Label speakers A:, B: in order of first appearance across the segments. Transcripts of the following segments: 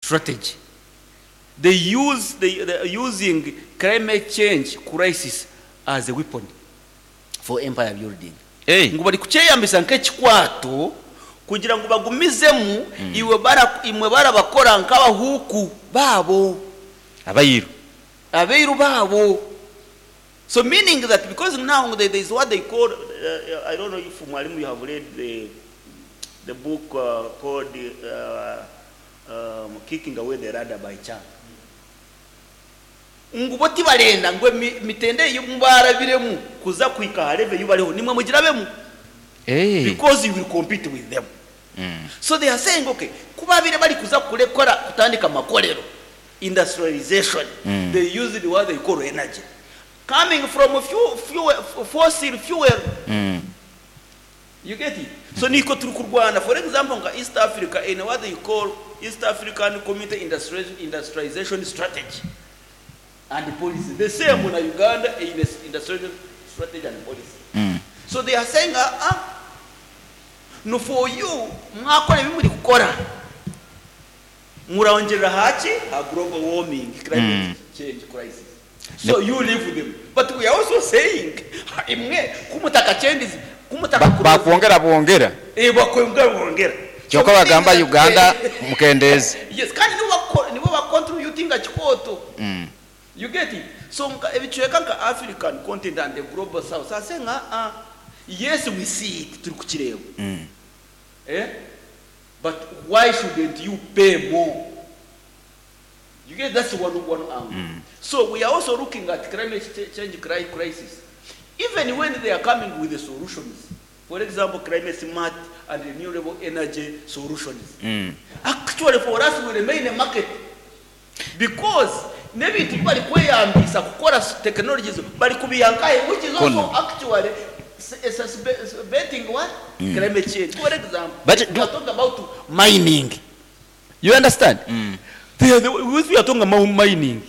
A: Strategy. They use they they are using climate change crisis as a weapon for empire building. Ngu bari kukyeyambisa nk'ekikwato kugira ngu bagumizemu iwe bara imwe barabakora nk'abahuuku baabo.
B: Abairu.
A: Abairu baabo. So meaning that because now there is what they call I don't know if mwalimu you have read the the book called Kicking Away the Ladder by Chang. Ngu bo tibarenda ngu emitende ei barabiremu kuza kuhika aha level ei bariho nimwe mugirabemu because you will compete with them. So they are saying okay, ku babaire bari kuza kurekora kutandika amakorero, industrialization, they used what they call energy coming from fuel, fossil fuel. You get it? So nikwo turi kurwana for example nka East Africa eine what they call East African Community Industrialization Strategy and Policy. The same na Uganda eine industrialization strategy and policy. So they are saying ah no for you mwakora ebi muri kukora murongyerera aha ki? Aha global warming, climate change crisis. So you leave them. But we are also saying imwe ku mutakachendize, ku mutakakuroze.
B: Bakwongera bwongera.
A: Eh, bakwongera bwongera.
B: Kyonka bagamba Uganda mukendeeze.
A: Yes, kandi nibo bako nibo ba contributinga kikooto. You get it? So nka ebicweka nka African continent and the global south are saying ah ah, yes we see it, turi kukireeba. Eh? But why shouldn't you pay more? You get that's one one angle. So we are also looking at climate change crisis. Even when they are coming with the solutions, for example, climate smart and renewable energy solutions. Actually for us we remain a market because n'ebintu bi barikweyambisa kukora technologies barikubiiha nkahe which is also
B: Kono.
A: actually exacerbating what? Climate change. For example,
B: But
A: we
B: do-
A: are talking about mining. You understand? They are the, if we are talking about mining,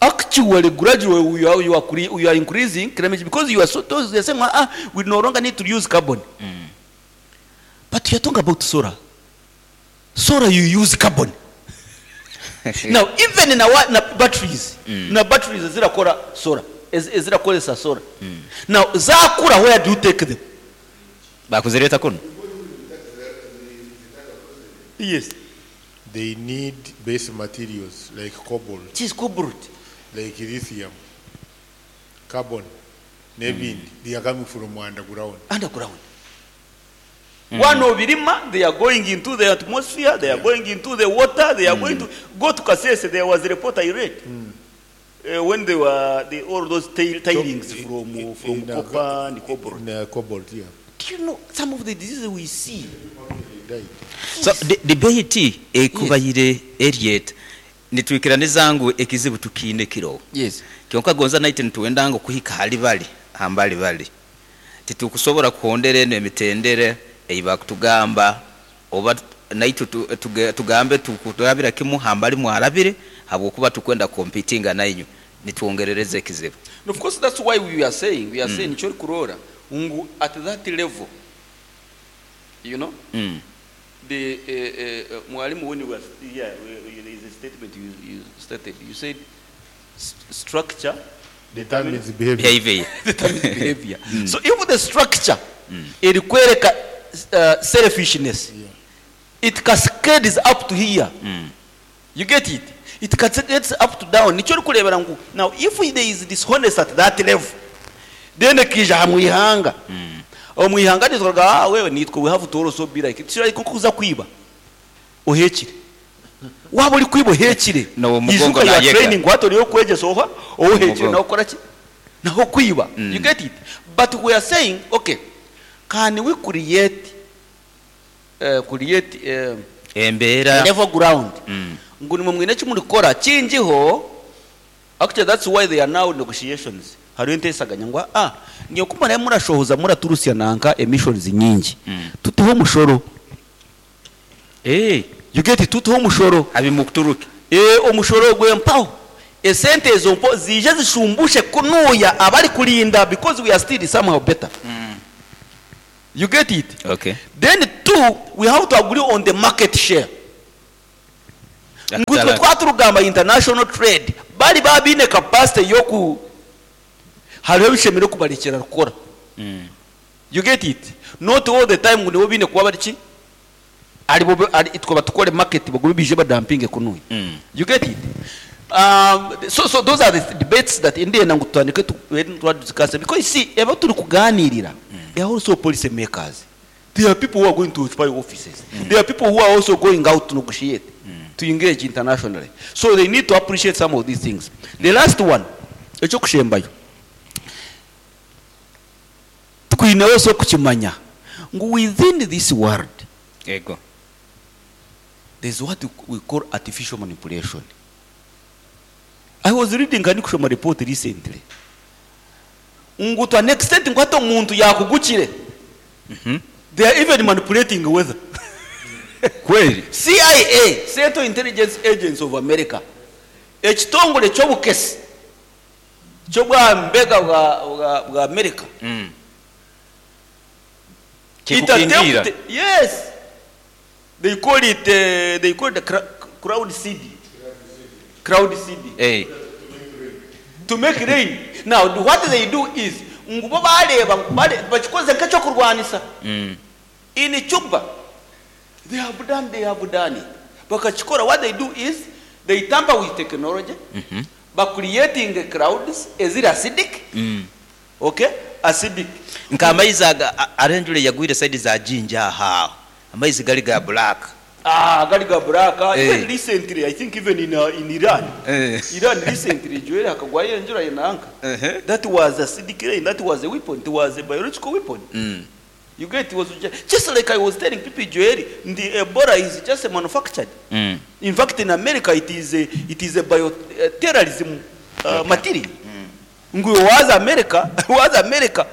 A: actually gradually we are, you are, cre- you are increasing climate because you are so they are saying ah, we no longer need to use carbon. But you are talking about solar. Solar you use carbon. Now even na, wa- na batteries, na batteries zirakora solar, ezirakoresa solar. Now zakura where do you take them?
B: Bakuzireeta kunu.
A: Yes.
C: They need base materials like cobalt.
A: It is cobalt.
C: Like lithium, carbon, n'ebindi. They are coming from underground.
A: Underground. One obirima, they are going into the atmosphere, they are going into the water, they are going to go to Kasese. There was a report I read. When they were the, all those tail, tailings
C: So,
A: from, from
C: in,
A: copper and cobalt.
C: In, cobalt, yeah.
A: Do you know some of the diseases we see?
C: They died.
B: So debate ekubaire erieta nitwikiraniza ngu ekizibu tukiine kiroho.
A: Yes.
B: Kyonka gonza naitwe nitwenda ngu kuhika hali bali hambali bali titukusobora kuhondera enu emitendera ei bakutugamba oba naitwe tugambe tukurabira kimu hambali mwarabire habwokuba tukwenda competinga nainywe nitwongerereza ekizibu.
A: And of course that's why we are saying, we are saying nikyo orikuroora ngu at that level, you know, the mwalimu when you were yeah, there is a statement you, you stated, you said structure
C: determines behavior.
B: Behavior.
A: Determines behavior. So if the structure erikwereka selfishness, it cascades up to here. You get it? It cascades up to down. Nikyo orikureebera ngu now if there is dishonest at that level, then ekaija aha mwihanga. Omu ihanga nitwaga ah wewe nitwe we have to also be like it's like kuza kwiba ohekire. Waba ori kwiba ohekire.
B: No, omugongo
A: Ijuka you are
B: nayega.
A: training what ori okwegyesa oha ohekire
B: Omugongo.
A: nawe okora ki? Naho kwiba. You get it? But we are saying okay, can we create create
B: Embeera
A: level ground? Ngu nimwe mwine eki murikukora kingiho. Actually that's why they are now negotiations. Hariho enteesaganya ngu ah nyowe ku muraabe murashohoza muraturusya nanka emissions nyingi. Tuteho omushoro.
B: Eh.
A: You get it? Tuteho omushoro.
B: Abimukuturuke.
A: Eh, omushoro gwe mpaho. Esente ezo mpo ziije zishumbushe kunuya abari kurinda because we are still somehow better. You get it?
B: Okay.
A: Then two, we have to agree on the market share. Ngu itwe twaba turikugamba international trade, bari baaba baine capacity y'oku hariho ebishemereire kubarekyera kukora. You get it? Not all the time ngu nibo baine kuba bari ki? Aribo itwe batukore market bagume baije badampinge kunuya. You get it? So so those are the debates that ndenda ngu tutandike tube nitwa discuss because you see ebi turikuganirira they are also policy makers. There are people who are going to occupy offices. There are people who are also going out to negotiate, to engage internationally. So they need to appreciate some of these things. The last one, eky'okushembayo, twine also kukimanya ngu within this world,
B: Ego.
A: there's what we call artificial manipulation. I was reading nka ndikushoma report recently ngu to an extent ngu hati omuntu yakugukire they are even manipulating weather.
B: Kweli?
A: CIA, Central Intelligence Agency of America, ekitongore ky'obukesi ky'obwa mbega bwa, bwa, bwa America. It
B: Kikukingira.
A: attempted, yes, they call it, they call it the crowd seeding. Crowd seeding. To make rain. Now, what they do is, ngu bo bareeba, bakikoze nk'ekyokurwanisa. In Cuba, they have done it. Bakakikora, what they do is, they tamper with technology, by creating crowds eziri acidic. Okay? Acidic.
B: Nka amaizi aga, hariho enjura eyagwire side za Jinja aho. Amaizi gari ga black.
A: Ah, gari ga black. Even recently, I think even in Iran. Iran recently, Joel hakagwayo enjura yenanka. That was acidic rain, that was a weapon, it was a biological weapon. You get, it was just like I was telling people, Joel, the Ebola is just a manufactured. In fact, in America, it is a bioterrorism material. Ngu waza America, waza America,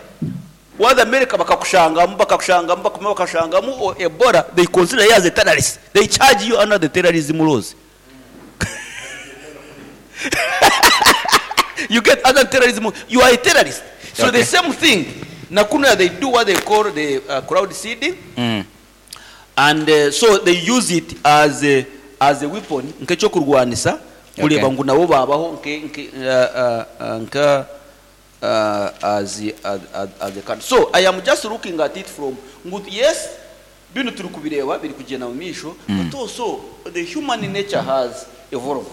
A: waza America bakakushangamu, bakakushangamu, bakuma bakakushangamu, o Ebola, they consider you as a terrorist. They charge you under the terrorism laws. You get other terrorism, you are a terrorist. So the same thing, Nakuna, they do what they call the crowd seeding. And so they use it as a weapon, nk'ekyokurwanisa, kureeba ngu nabo babaho nke, nke, nka, as, as, as, as a country. So I am just looking at it from, ngu, yes, bino turi kubireba biri kugenda mu misho, but also the human nature has evolved.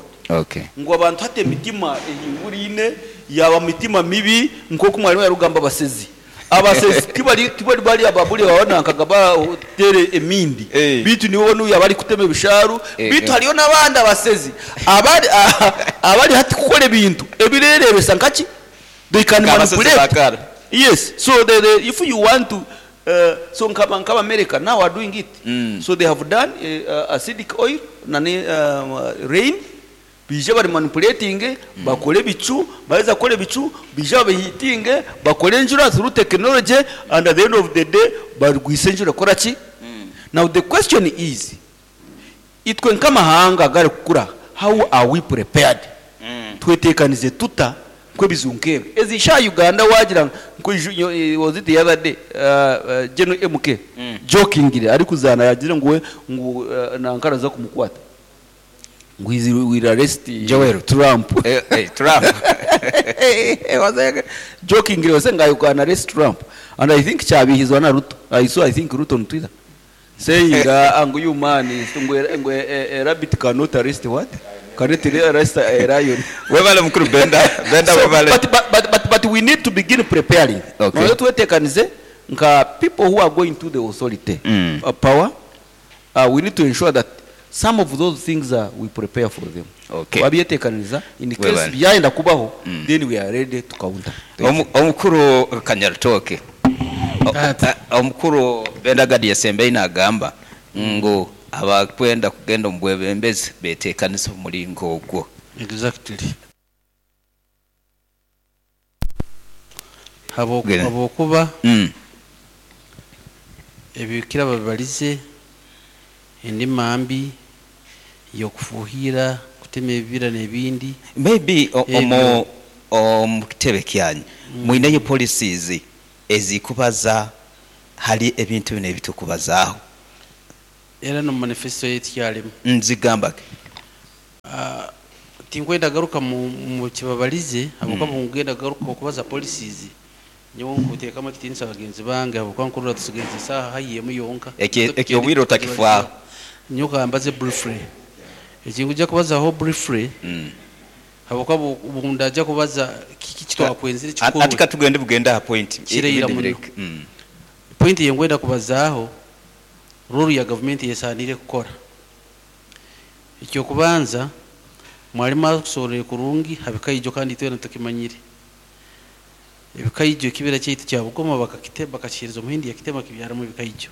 A: Ngu abantu hati emitima ehingurine, yaba mitima mibi, nk'oku mwarimu yarugamba abasezi. Abasezi tibari bari ababuri babonankaga batere emindi. Bitu nibo n'uyu abari kutema ebisharu, bitu hariyo n'abandi abasezi. Abari hati kukora ebintu ebirerebesa nkaki? They can
B: Nk'abasezi
A: manipulate.
B: bakara.
A: Yes. So they, if you want to so nkaba America now are doing it. So they have done acidic oil nani rain. Bija bari manipulating, bakore bicu, baheza kore bicu, bija babihitinge, bakore enjura through technology, and at the end of the day barwise enjura kora ki? Now the question is, itwe nkamahanga gari kukura, how are we prepared? Twetekanize tuta kwebizu nkebe. Ezisha Uganda wagira nko was it the other day, General MK jokingly ari kuzana yagira ngo ngo nankara za kumukwata. Ngo izi will arrest
B: Joel
A: Trump.
B: Trump.
A: Jokingly was saying I can arrest Trump. And I think cyabihizwa na Ruto. I saw I think Ruto on Twitter saying, ngo you man is ngo, ngo, a rabbit cannot arrest what? Cannot arrest a lion.
B: Webale mukuru Benda, Benda webale.
A: But we need to begin preparing. Now twetekanize nka people who are going to the authority, power, we need to ensure that some of those things we prepare for them. Wabyetekaniza in case
B: Webale.
A: byayenda kubaho, then we are ready to counter.
B: Omukuru Kanyarutooke. Omukuru Benda Gadi yasembe inagamba ngu abakwenda kugenda omu bwebembezi betekanisa omuringo ogwo.
D: Exactly.
B: Genda.
D: Habwokuba ebikira babalize endima mbi y'okufuhira kutema ebibira n'ebindi.
B: Maybe
D: Ebyo.
B: omu kitebe kyanyu mwineyo policies ezikubaza hali ebintu bino ebitukubazaaho.
D: Era no manifesto yetu kyalimu.
B: Nzigamba ki?
D: Tinkwenda garuka mu kibabalize habwokuba bungenda garuka okubaza policies, nyowe nkuteekamu ekitiinisa bagenzi bange habwokuba nkurora tusigaize esaaha haihi emu yonka.
B: Eki obwire otakifaaho.
D: Nyowe kambaze briefly. Eki nkujja kubazaho briefly habwokuba obundaija kubaza kiki ekitwakwenzire
B: Ati
D: kikorwe.
B: Katugende bugende aha point.
D: Kiraira
B: Ebindi
D: muno.
B: bireke.
D: Point eyinkwenda kubazaaho, role ya gavumenti eyesaaniire kukora. Eky'okubanza, mwarimu akusobororire kurungi ha bikaijo kandi itwena tukimanyire. Ebikaijo ekibira kyaitu kya Bugoma bakakite bakakiheereza omuhindi yakitema kibyaramu ebikaijo.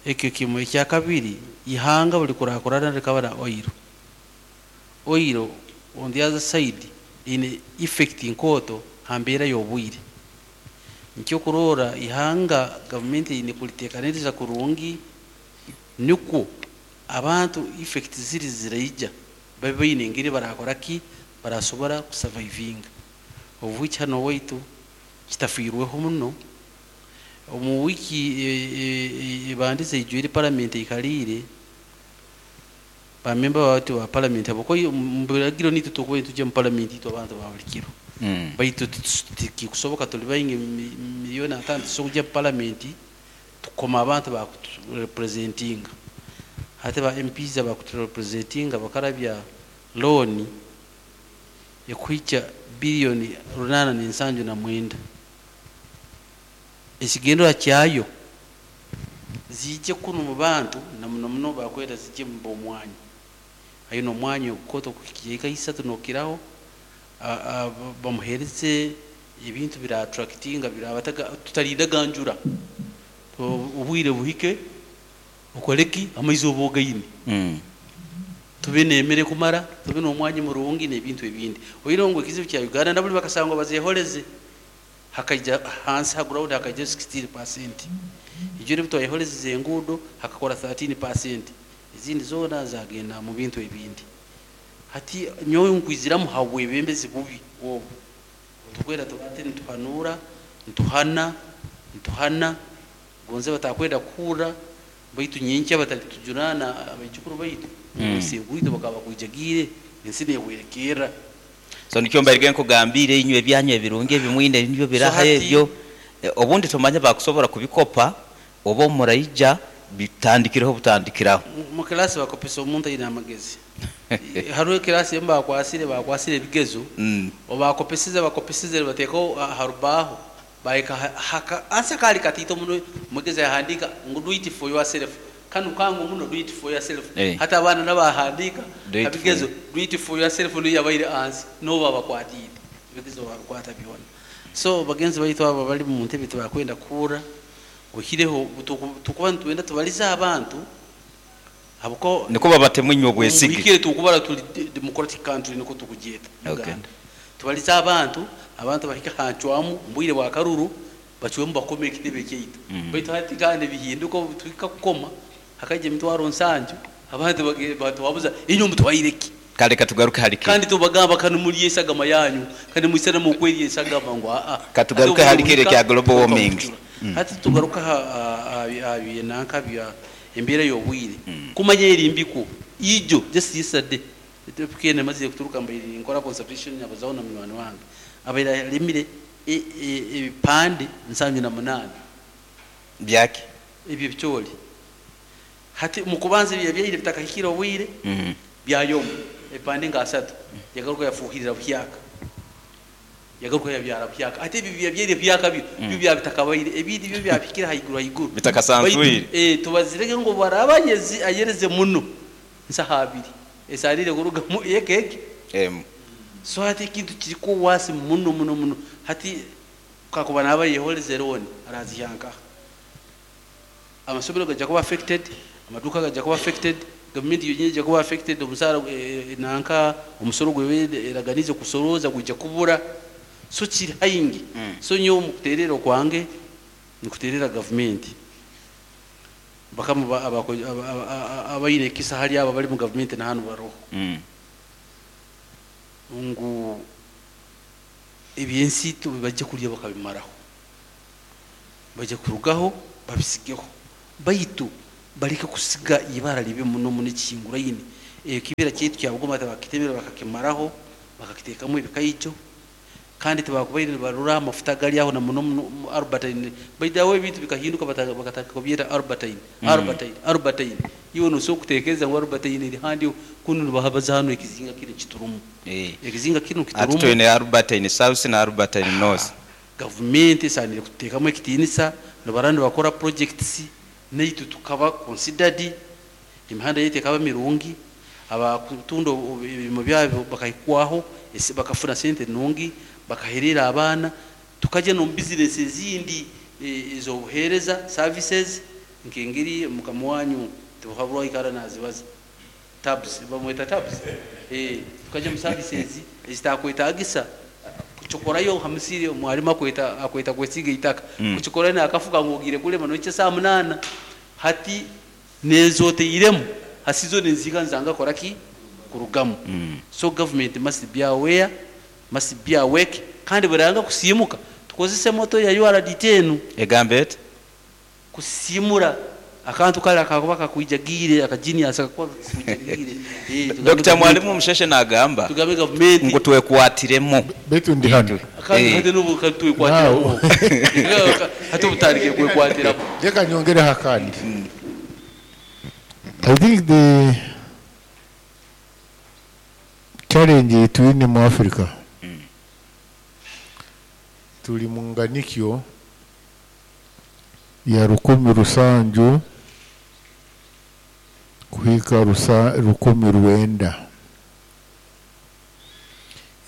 D: Ekyo kimwe. Ekyakabiri, ihanga buri kurakurana rikaba na oil. Oil on the other side eine effect nkooto ha mbeera y'obwire. Nikyo okuroora ihanga gavumenti eine kuriteekaniriza kurungi nikwo abantu effect ziri ziraija babe baine engeri barakora ki barasobora kusurvivinga. Of which hanu owaitu kitafiirweho muno. Omu wiiki ebandize eijwire paramenti eikariire, bamemba baitu ba paramenti habwokuba omu biragiro naitwe turikuba nitujya omu paramenti itwe abantu ba buri kiro. Baitu tikikusoboka turi baingi 5,000,000 titusobora kujya omu paramenti tukoma abantu bakuturepresentinga. Hati ba MPs abakuturepresentinga bakarabya looni ekuhikya biliyoni 879. Ekigendererwa kyayo ziije kunu mu bantu na muno muno bakwenda zijye mu b'omwanya. Aine omwanya ogukooto kuhikya eka isatu n'okiraho, bamuheereze ebintu bira attractinga birabataga tutarindaga njura. Obwire buhike okore ki amaizi oba ogaine. Tube n'emere kumara, tube n'omwanya murungi n'ebintu ebindi. Oihireho ngu ekizibu kya Uganda naburi bakasangwa bazeehoreze hakaija hansi ha ground hakaijayo 16%. Ijwire obu twayehorezeze enguudo hakakora 13%. Ezindi zoona zagenda mu bintu ebindi. Hati nyowe nkwiziramu ha bwebembezi bubi obu. Tukwenda tubate nituhanuura, nituhana, nituhana, gonze batakwenda kuhurra baitu nyenkya batalitujunaana abaijukuru baitu ngu isengwitwe bakaba bakwijagiire ensi nehwerekerra.
B: So nikyo mbaire nkugambiire inywe ebyanyu ebirungi ebi mwine nibyo
D: So
B: biraha
D: hati
B: ebyo obundi tomanya bakusobora kubikopa oba omuraija bitandikireho butandikiraho.
D: Mu class bakopesa omuntu aine amagezi. Hariho eclass emu bakwasire bakwasire ebigezo, obakopesize bakopesize nibateekaho aha rubaaho bahika haka ansi akaari kataito muno omwegesa yahandiika ngu do it for yourself. Kanu kangu muno do it for yourself. Hati abaana n'abahandiika
B: Do
D: ha
B: it for
D: bigezo do it for yourself niyo yabaire ansi n'obu babakwatiire ebigezo babikwata byona. So bagenzi baitu abo abari omu ntebe tibakwenda kuhurra oihireho tukuba nitwenda tubarize abantu habwokuba
B: Nikwo babatemu inywe obwesige.
D: Omuhikire tukubara turi democratic country nikwo tukugyeta Uganda. Tubarize abantu, abantu bahike aha ncwamu omu bwire bwa karuru bacwemu bakome ekitebe kyaitu. Baitu hati kandi bihinduka obu tuhika kukoma hakaija 70,000 abantu batuhabuza inywe mutwaire ki?
B: Kale katugaruke hali kiri.
D: Kandi tubagamba kanu murye esagama yanyu kandi mwisana mukwerya esagama ngu aa.
B: Katugaruke
D: Hati
B: hali kiri
D: obuhika
B: ekya global warming.
D: tukabucura. Hati tugaruka aha byenanka bya embeera y'obwire. Kumanya eri mbi kwo ijo just yesterday TPK mazire kuturuka mbaire ninkora consultation nabazaho na munywani wange abaire arimire ebipande 78.
B: Byaki?
D: Ebyo ebicoori. Hati omu kubanza ebi yabyaire bitakahikire obwire byayoma ebipande nka asatu yagaruka yafuuhirira buhyaka. Yagaruka yabyara buhyaka. Hati ebi biyabyaire buhyaka byo byo byabitakabaire ebindi byo byabihikire haiguru haiguru.
B: Bitakasanzwire.
D: Baitu tubazirege ngu baraba ayereze muno nsaha abiri esaarire kurugamu eka egi.
B: Emu.
D: So hati ekintu kiriko waasi muno muno muno. Hati kakuba naaba yehoreze looni araziha nkaha? Amasomero gaija kuba affected, amaduuka gaija kuba affected, gavumenti yonyini eija kuba affected, omusaara nanka omusoro gweba eraganize kusorooza gwija kubura. So kiri haingi. So nyowe omu kuteerera okwange nikuteerera gavumenti. Bakama abaine ekisa hali abo abari mu gavumenti na hanu baroho. Ngu ebyensi bajja kurya bakabimaraho. Bajja kurugaho babisigeho. Baitu bareke kusiga ibara ribi muno muno ekihinguraine. Ekibira kyaitu kya Bugoma tibakitemere bakakimaraho, bakakiteekamu ebikaijo, kandi tibakubaire nibarora amafuta agari aho na muno muno omu Albertine. By the way ebintu bikahinduka bakatandika kubyeta Albertine, Albertine, Albertine. Iwe nosobola kutekereza ngu Albertine eri handi kunu nibabaza hanu ekizinga kinu ekiturumu. Ekizinga kinu
B: Hati
D: kiturumu.
B: twine Albertine South na Albertine North.
D: Gavumenti esaanire kututeekamu ekitiinisa, nibaraba nibakora projects naitwe tukaba considered, emihanda yaitu ekaba mirungi, abakutunda ebirimo byabo bakahikwaho, bakafuna sente nungi, bakahereera abaana, tukagya n'omu bizinesi ezindi ez'obuheereza, services, nk'engeri mukama wanyu Tibuhaburwa aikara nazibaza. Tabs, bamweta Tabs? Eeh, tukagya omu services ezitakwetagisa kucokorayo ha musiri, omwarimu akweta akweta kwesiiga eitaka, kucokorayo nakafuka ngu ogiire kulima nohikya saaha munaana. Hati N'ezo oteiremu hasi zoona nizihika nizanga kukora ki? Kurugamu. So government must be aware, must be awake kandi bwerayanga kusiimuka tukozese moto ya URDT enu.
B: Egamba eta?
D: Kusiimura akantu kare akakuba kakwijagiire, aka genius akakuba kakwijagiire. Eeh tugambe
B: Dokita
D: gavumenti.
B: Mwalimu Musheshe nagamba
D: Tugambe gavumenti.
B: ngu twekwatiremu.
C: Beitu ndi hanu.
D: Kandi hati n'obu twekwatiramu
C: Now.
D: Hati obu tutandikire kwekwatiramu.
C: Reka nyongereho akandi. I think the challenge ei twine mu Africa, turi mu nganikyo ya 1700 kuhika 1900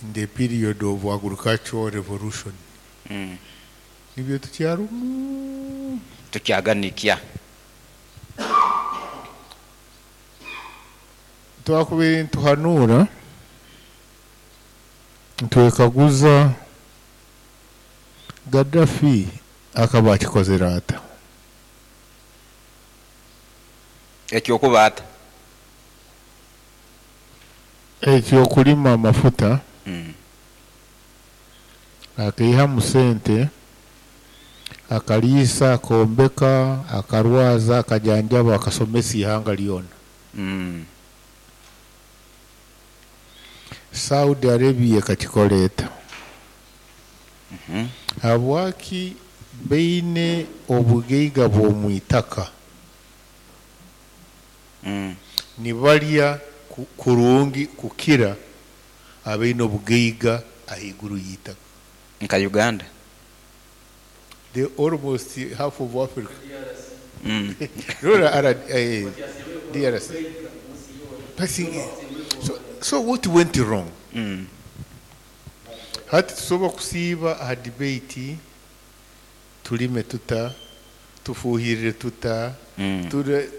C: in the period of agricultural revolution. Nibyo tukyarumu.
B: Tukyaganikya.
C: Twakubaire nituhanuura, nitwekaguza Gaddafi akaba akikozire ata?
B: Eky'okuba ata?
C: Eky'okulima amafuta, akaihamu sente, akariisa, akombeka, akarwaza, akajanjaba, akasomesa eihanga ryona. Saudi Arabia ekakikora eta? Habwaki baine obugaiga bw'omu itaka? Nibarya kurungi kukira abaine obugaiga ahaiguru y'eitaka.
B: Nka Uganda.
C: The almost half of Africa. Rora DRC. So, so what went wrong? Hati tusobola kusiiba aha debate turime tuta, tufuuhirire tuta, ture,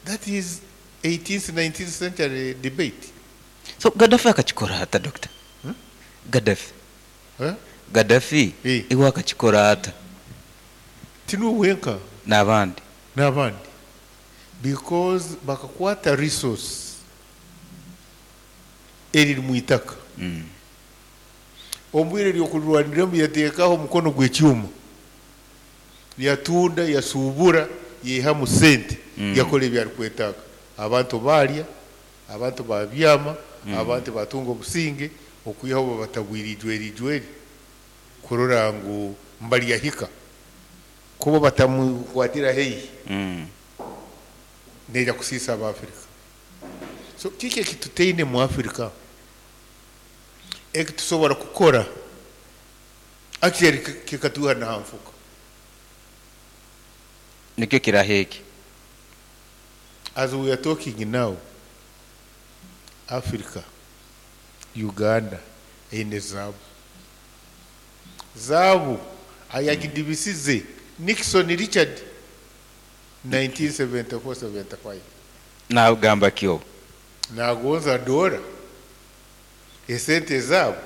C: that is 18th, 19th century debate.
B: So Gaddafi akakikora ata Doctor? Gaddafi. Gaddafi iwe akakikora ata?
C: Tinuwe wenka.
B: N'abandi.
C: N'abandi. Because bakakwata resource eriri mu itaka. Omu bwire ry'okurirwaniramu yateekaho omukono gw'ekyoma, yatunda, yasuubura, yaihamu sente, yakora ebi arikwetaaga. Abantu baarya, abantu baabyama, abantu baatunga obusinge, okwihaho babatabwire eijweri ijweri kurora ngu mbaryahika. Ku bo batamukwatira haihi, neija kusiisa Abaafirika. So kiki eki tutaine mu Afirika eki tusobora kukora actually kikatwiha n'aha nfuka?
B: Nikyo kiraha eki.
C: As we are talking now, Africa, Uganda eine zaabu. Zaabu ayagidibisize Nixon Richard 1974-75.
B: Nagamba ki obu?
C: Nagonza doora, esente ezaabo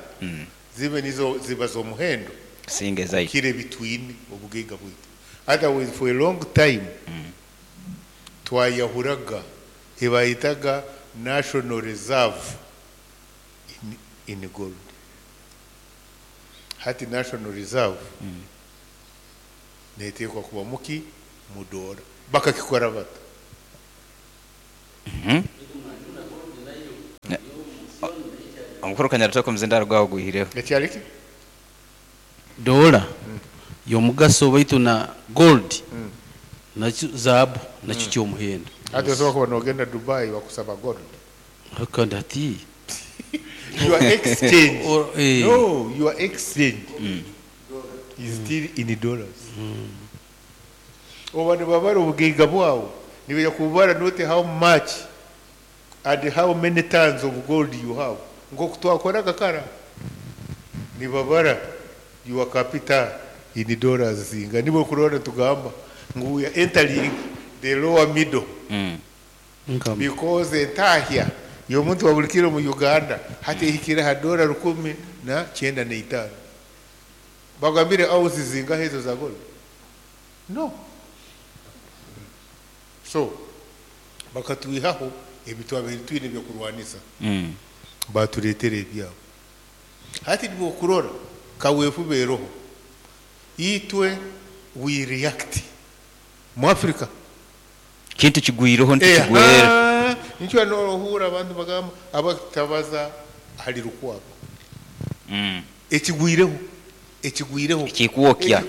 C: zibe nizo ziba z'omuhendo
B: Kusinga ezaitu.
C: kukira ebi twine, obugaiga bwaitu. Otherwise for a long time twayahuraga ebayetaga national reserve in gold. Hati national reserve neteekwa kuba muki? Mu doora. Bakakikora bata?
B: Omukuru Kanyarutaka omuzindaaro gwawe ogwihireho.
C: Ekyari ki?
D: Doola y'omugaso baitu na gold nakyo zaabu nakyo ky'omuhendo.
C: Hati osobola kuba nogenda Dubai bakusaba gold.
D: Kandi hati
C: Your exchange.
D: Or, eh.
C: No, your exchange is still in dollars. Oba nibabara obugaiga bwawe, nibaija kubara not how much and how many tons of gold you have. Nk'oku twakoraga kara. Nibabara your capital in dollars zinga. Nibo kurora tugamba ngu we are entering the lower middle.
D: Nkama.
C: Because entahya y'omuntu wa buli kiro mu Uganda hati ehikire ha dola 1095. Bagambire ounces zingahe ezo za gold? No. So bakatwihaho ebi twabaire twine ebyokurwanisa. Batureetera ebyabo. Hati nibokurora kaweefube eroho. Itwe we react. Mu Africa.
B: Kintu kigwireho ntikigwera.
C: Nikyo nohura abantu bagamba abatabaza ahari Lukwago. Ekigwireho. Ekigwireho.
B: Ekikwokya.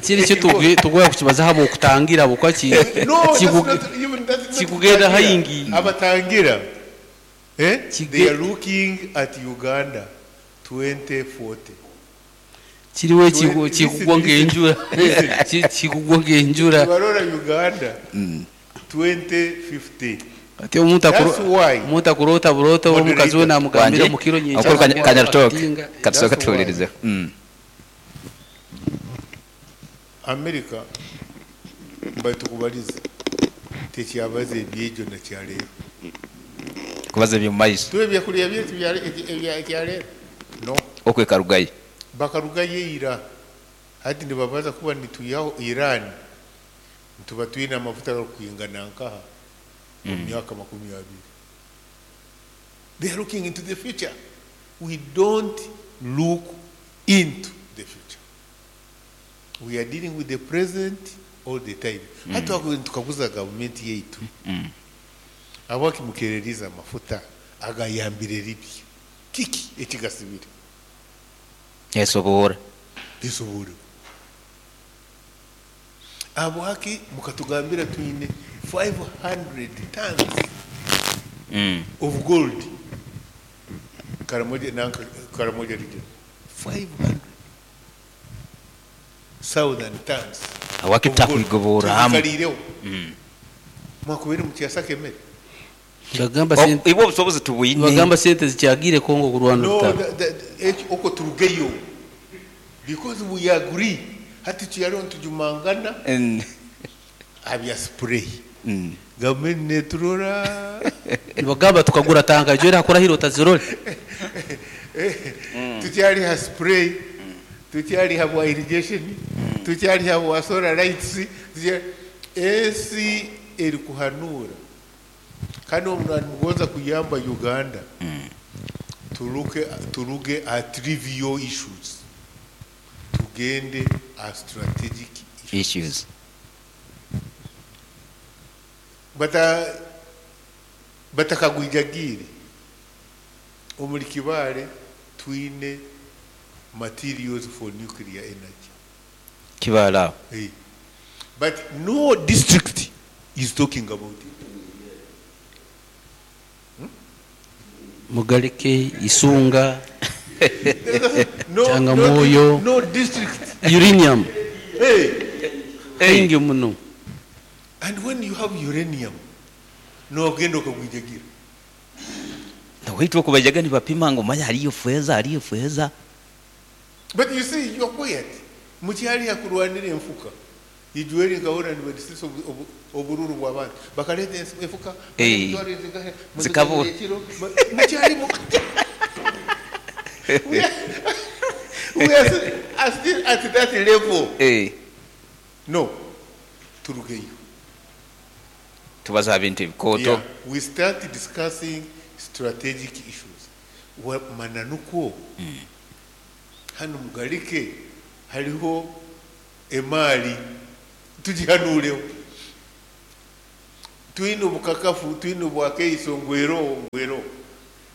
D: Kiri kyo tugwa kukibaza habo okutangira abo kwa ki
C: No, that's not, even that's not
D: kikugenda
C: kutangira.
D: Haingi.
C: Abatangira. Eh? They are looking at Uganda 2040.
D: Kiriwo kikugwa ng'enjura. Kikugwa ng'enjura.
C: Barora Uganda 2050.
D: Ati omuntu
C: That's why.
D: Omuntu akurota burota omukazi we namugambira
B: Wanje,
D: mu kiro nyingi.
B: Omukuru Kanyarutaka,
D: Atinga.
B: katusooka
C: That's why.
B: tuwulirizeho.
C: America batukubaliza tekyabaza ebyejo na kyaleero.
B: Kubaza ebyo mu maiso.
C: Tuwe ebyakulya byaitu ebyaleero. No.
B: Okwekarugayo.
C: Bakarugayo ira. Hati nibabaza kuba nituyaho Iran. Nituba twine amafuta gakwingana nkaha mu myaka 20. They are looking into the future. We don't look into the future. We are dealing with the present all the time. Hata mm. Tukaguza gavumenti yaitu. Abakimukereriza amafuta agayambire Libya. Kiki ekigasibire?
B: Esobora.
C: Esobora. Abwaki mukatugambira twine 500 tons of gold. Karamoja nanka Karamoja region. 500,000 tons.
B: Awaki takugobora hamu.
C: Tukalireho. Mwakubiri mukyasaka emmere.
D: Bagamba sente
B: Ibwo obusobozi tubwine.
D: Bagamba sente zikyagire Kongo kurwana
C: No,
D: orutaro.
C: oko turugeyo. Because we agree. Hati tuyariho ntujumangana abya spray. Gavumenti neturora.
D: Bagamba tukagura tanga jwera hakora hiro tazirole.
C: Tukyaliha spray. Tukyaliha bwa irrigation. Tukyaliha bwa solar lights. Ensi eri kuhanura. Kandi omuntu nimugonza kuyamba Uganda. Turuge at trivial issues. Tugende at strategic issues.
B: Issues.
C: Batakagwijagire omuri Kibale twine materials for nuclear energy.
B: Kibale aho.
C: Hey. But no district is talking about it.
D: Mugaleke, Isunga,
C: No,
D: Changamoyo.
C: No, no district.
D: Uranium.
C: Hey.
D: Hey. Muno.
C: And when you have uranium, no ogenda okagwijagira.
B: Waitu okubajaga nibapima ngo manya hariyo feza, hariyo feza.
C: But you see, you are quiet. Mukyali hakurwanira enfuka. Ijweri nkahura nibadisisa obururu bw'abantu. Bakaleta enfuka.
B: Hey. Zikabura.
C: Mukyali mu We are still at that level.
B: Hey.
C: No. Turugeyo.
B: Tubaza bintu ebikooto.
C: Yeah. We start discussing strategic issues. Mananuko. Hano mugalike hariho emali tugihanureho. Twine obukakafu, twine obwakeiso ngwero ngwero.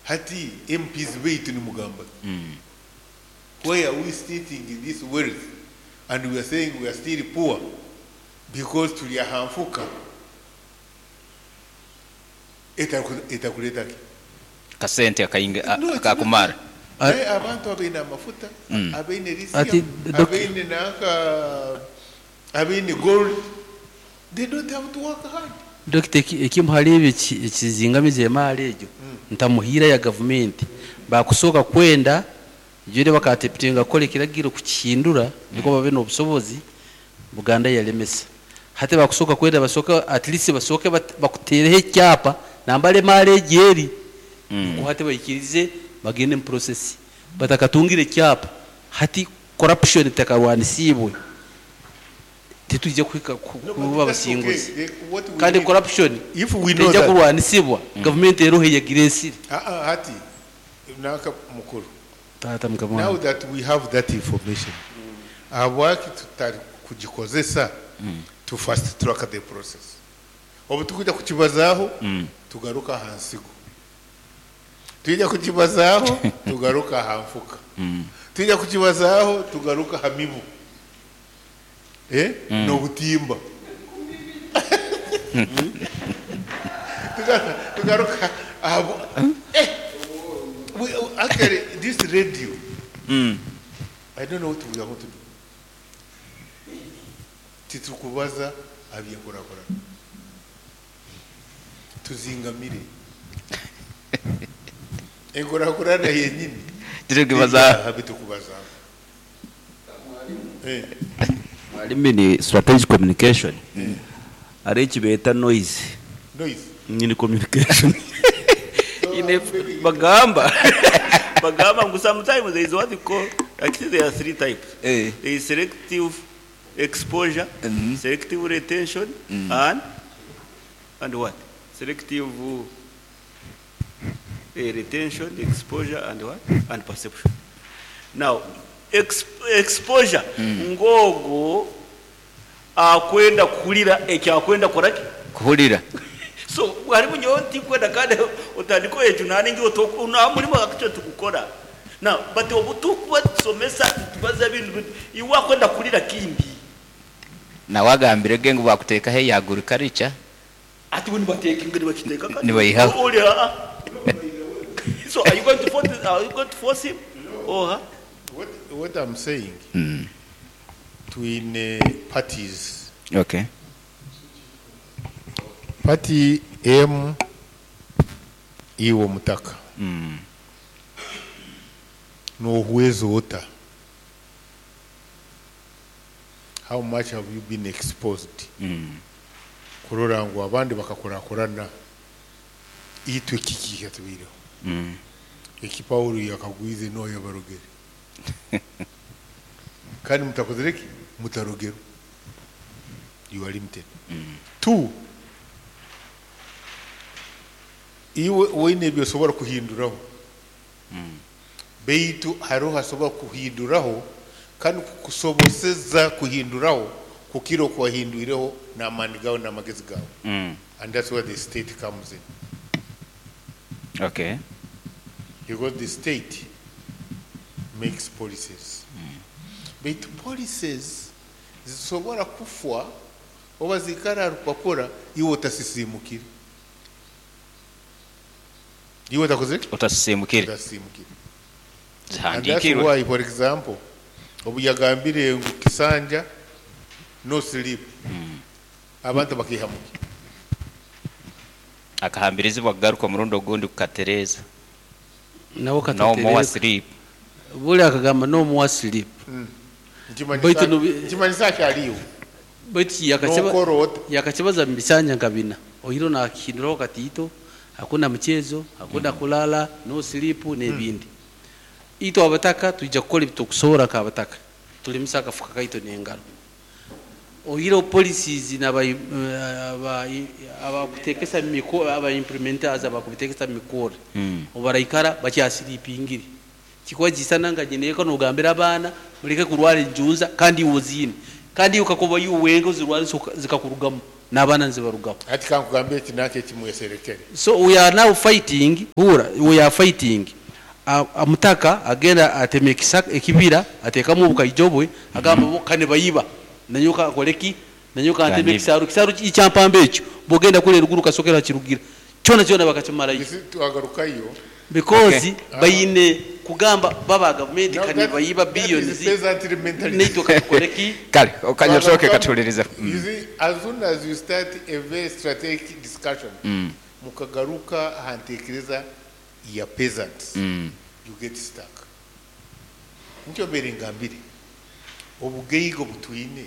C: Hati MPs baitu nimugamba ki? Why are we sitting in this wealth and we are saying we are still poor because turi aha nfuka etakureeta ki?
B: Akasente akainga
C: No, it's
B: akakumara.
C: not. Naye abantu abaine amafuta, abaine
D: Ati,
C: lithium, abaine nanka, abaine gold, they don't have to work hard.
D: Dokita ekimu hali ebyo ekizingamize emaali egyo ntamuhiira ya gavumenti bakusooka kwenda jure bakatepitinga kukora ekiragiro kukihindura niko babe n'obusobozi Buganda yalemesa hati bakusooka kwenda basooke at least basooke bakuteereho ekyapa nambara emaali egyo eri nikwo hati baikirize bagende mu process batakatungire ekyapa hati corruption etakarwanisiibwe titwija kuhika
C: No, but
D: kuba
C: that's okay.
D: abasinguzi
C: What we
D: kandi
C: need-
D: corruption
C: If we know
D: tejja
C: that-
D: kurwanisibwa gavumenti eroho eyagira esiri.
C: Ah, ah, hati nanka mukuru.
D: Taata mukama
C: Now
D: wange.
C: that we have that information, habwaki tutari kugikozesa to fast track the process? Obu tukuja kukibazaho tugaruka aha nsigo, twija kukibazaho tugaruka aha nfuka, twija kukibazaho tugaruka aha mibu n'obutimba, tugaruka aha we, actually this radio, I don't know what we are going to do. Titukubaza abyenkurakurana tuzingamire enkurakurana yenyini.
B: Titukubaza.
C: Bitukubaza.
A: Mwalimu ni strategic communication ari ekibeeta noise.
C: Noise.
A: Nyini communication ine bagamba ngu sometimes there is what we call, actually there are three types. There is selective exposure, selective retention, and what? Selective retention, exposure, and what? And perception. Now, exposure, ngogo akwenda kuhurira ekyakwenda koraki?
B: Kuhurira.
A: So harimu nyowe ntikwenda kandi otandika ekyo naningi nta murimo akicyo tukukora. Now, but obu tukuba tusomesa tubaza ebintu iwe akwenda kurira kindi.
B: Nawe agambire ge ngu bakuteekaho eya agriculture.
A: Ati bo nibateeka ingeri bakiteeka kandi.
B: Nibayihaho.
A: Ori, ah, ah. So are you going to force, are you going to force him? Or her?
C: What I'm saying, twine parties. Party M iwo mutaka. Nohuwezo ota. How much have you been exposed? Kurora ngu abandi bakakurakurana itwe kiki kyatubireho. Eki Paulo yakagwize no yabarogere. Kandi mutakozere ki? Mutarogero. You are limited. 2, iwe weine ebyosobora kuhinduraho. Beitu hariho hasobora kuhinduraho kandi kukusoboseza kuhinduraho kukira okwahindwireho n'amaani gawe n'amagezi gawe. And that's where the state comes in. Because the state makes policies. But policies zisobora kufwa oba zikara rupapura iwe otasisimukire. Iwe otakoze?
B: Otasisimukire.
C: Otasisimukire. And that's
B: Zihandikirwe.
C: why, for example, obu yagambire ngu kisanja no sleep. Abantu bakihamuka.
B: Akahambirizibwa kugaruka omurundi ogundi kukatereeza.
D: Nawo
B: No
D: katatereeza.
B: more sleep.
D: Buli akagamba no more sleep. Baitu
C: Nkimanyisa akyaliyo.
D: Baitu
C: N'okora ota.
D: yakakibaza mu bisanja nka bina. Oiro nakihinduraho katiito, hakuna mchezo, hakuna kulala, no sleep n'ebindi. Itwe abataka twija kukora ebitukusobola nk'abataka. Tulimisa akafuka kaitu n'engaro. Oiro policies abakuteekesa aba implementers abakubitekesa mikoro. Obaraikara bakyasiripingire. Kikwajisana nga nyeneko nogambira abaana muleke kurwara enjunza kandi iwe oziine. Kandi iwe ukakuba iwe wenga ozirwara zikakurugamu. N'abaana nizibarugaho.
C: Hati kankugambire eki nanka eki mweserekere.
D: So we are now fighting, hurra, we are fighting. Omutaka agenda atema ekisaka, ekibira, ateekamu obukaijo bwe, agamba bo ka nibayiba, nanyowe kankore ki? Nanyowe kanteme
B: Kanyibe.
D: ekisaaru. Ekisaaru ekyampamba ekyo, bwogenda kuri eruguru kasokero hakirugira, kyona kyona bakakimarayo.
C: You see, twagarukayo.
D: Because
B: Okay.
D: baine kugamba bo aba gavumenti
C: Now
D: ka
C: that,
D: nibayiba
C: that is
D: billions,
C: peasantry mentality.
D: naitwe katukore ki?
B: Kale okanyatooke
C: Twagarukamu.
B: katuhulirize.
C: You see, as soon as you start a very strategic discussion, mukagaruka aha ntekereza ya peasants, you get stuck. Nikyo mbeire ngambire, obugaiga obutwine,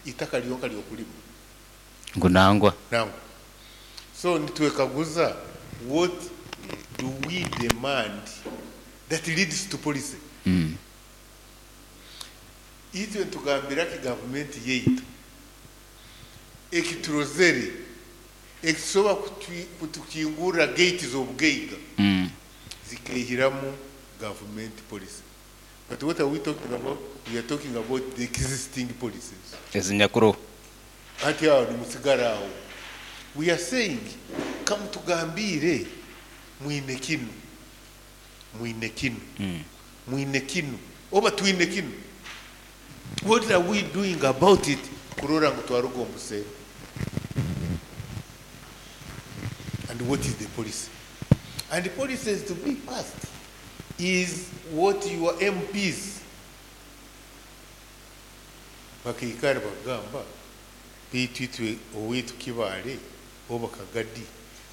C: itaka ryonka ryokulima.
B: Ngu nangwa.
C: Nangwa. So nitwekaguza, what do we demand that leads to policy? Itwe nitugambira ki gavumenti yaitu ekiturozere ekisobola kutukingurira gate z'obugaiga zikaihiramu government policy. But what are we talking about? We are talking about the existing policies.
B: Ezinyakuru.
C: Hati aho nimusigara aho. We are saying, kamutugambire mwine kinu, mwine kinu, mwine kinu, oba twine kinu. What are we doing about it? Kurora ngu twaruga omu buseere. And what is the policy? And the policy is to be passed is what your MPs bakaikara bagamba baitu itwe owaitu Kibaale oba Kagadi,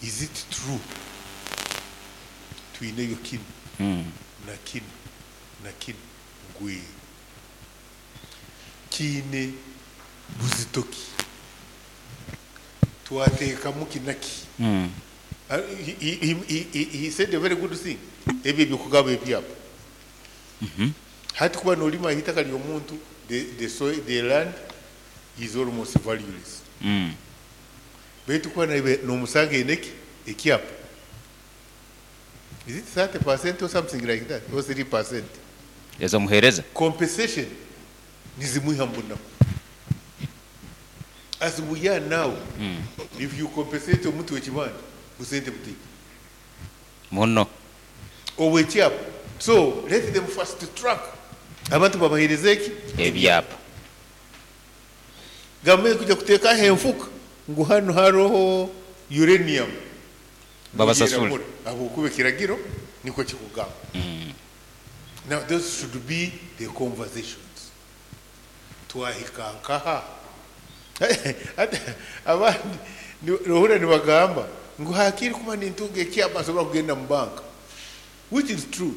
C: is it true twineyo kinu na kinu na kinu ngwe kiine buzito ki twateekamu kinaki? He said a very good thing. Ebyo ebyokugaba ebyapa. Hati kuba nolima itaka ly'omuntu, the soil, the land is almost valueless. Baitu kuba nomusanga eneki ekyapa. Is it 30% or something like that? Or 3%?
B: Ezomuhereza.
C: Compensation nizimwiha mbunaku. As we are now, if you compensate omuntu w'ekibanja, busente butito.
B: Muno.
C: Owekyapa. So let them fast track. Abantu babahereze eki?
B: Ebyapa.
C: Gavumenti kuja kuteekaho enfuka ngu hanu hariho uranium.
B: Babasasule.
C: Ahabw'okuba ekiragiro nikwo kikugamba. Now those should be the conversations. Twahika nkaha. Ate abandi nohurira nibagamba ngu hakiri kuba nintunga ekyapa nsobora kugenda mu banka, which is true.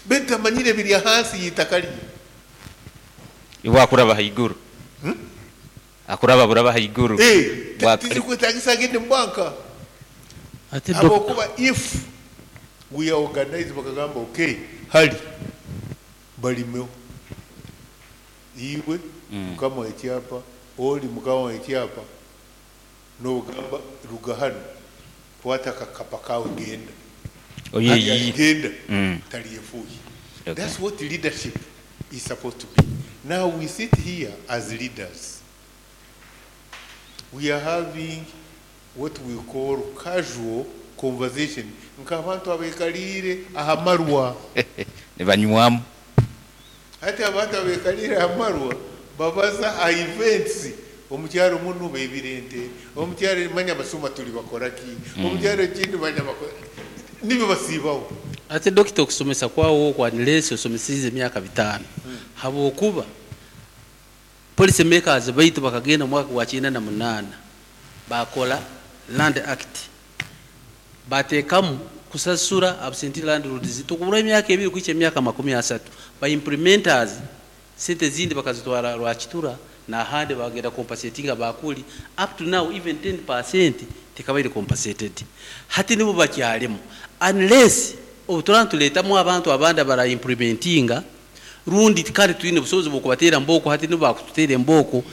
C: Baitu tamanyire biri ahansi y'itaka rye.
B: Iwe akuraba haiguru. Akuraba buraba haiguru.
C: Tizikwetagisa agende mu banka.
D: Ate
C: Habwokuba if we are organized bakagamba okay, hali balimeho iwe mukama w'ekyapa, oli mukama w'ekyapa, n'ogamba ruga hanu kwata akakapa kawe genda.
B: Oye,
C: Genda. Taliyefuuye. That's what leadership is supposed to be. Now we sit here as leaders. We are having what we call casual conversation. Nk'abantu abeekaliire ahamarwa.
B: Nibanywamu.
C: Hati abantu abeekaliire ahamarwa babaza aha events. Omukyaro muno beebire ente, omukyaro manya basuma tuli bakora ki, omukyaro ekindi manya bakora nibyo basiibaho.
D: Ate dokita okusomesa kwawo okwa nilesi osomesize emyaka 5. Habwokuba policy makers baitu bakagenda mwaka gwa 98 bakola Land Act, bateekamu kusasura absentee landlords tukubura emyaka ebiri kuhikya emyaka makumi asatu. Ba implementers sente zindi bakazitwara Rwakitura n'ahandi bagenda compensatinga bakuli. Up to now even 10% tekabaire compensated. Hati nibo bakyalimu unless obutura nituleetamu abantu abandi abara implementinga rundi kandi twine obusobozi bw'okubateera mbooko. Hati nibo bakututeera embooko.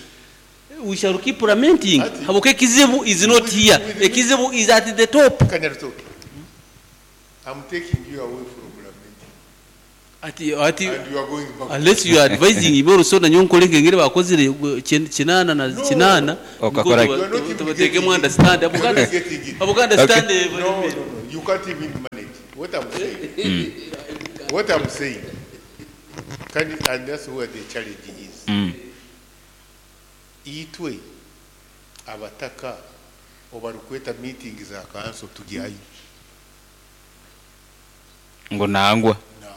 D: We shall keep lamenting.
C: Ati-
D: Habwokuba ekizibu is not here, ekizibu is at the top.
C: Kanyarutoki, I'm taking you away from lamenting.
D: Ati ati
C: And you are going back.
D: unless you are advising ibe oruso nanyowe nkore nk'engeri bakozire kinaana na
C: No.
D: kinaana nikwo
B: Okakora
C: You are not even
D: tubateekemu
C: getting it.
D: understand
C: You are
D: Abuganda
C: not getting it.
D: Abuganda
B: Okay.
D: stand
C: No, no, no. You can't even manage. What I'm saying. What I'm saying. Can, and that's where the challenge is. Itwe abataka obarikweta meeting za council tugyayo
B: Ngu nangwa.
C: nangwa.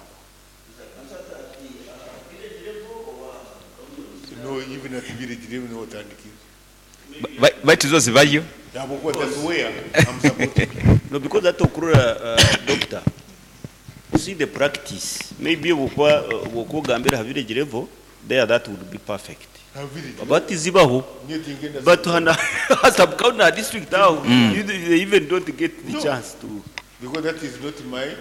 C: No, even at village level no otandikire.
B: Baitu zo zibayo.
C: Ahabw'okuba that's where I'm supposed to be.
A: No, because that okurora doctor, you see the practice. Maybe obwokuba ogambire aha village level, there that would be perfect.
C: Ha village.
A: But zibaho.
C: Meeting in the-
A: But hana sub county na district aho, they even don't get the
C: No.
A: chance to.
C: Because that is not my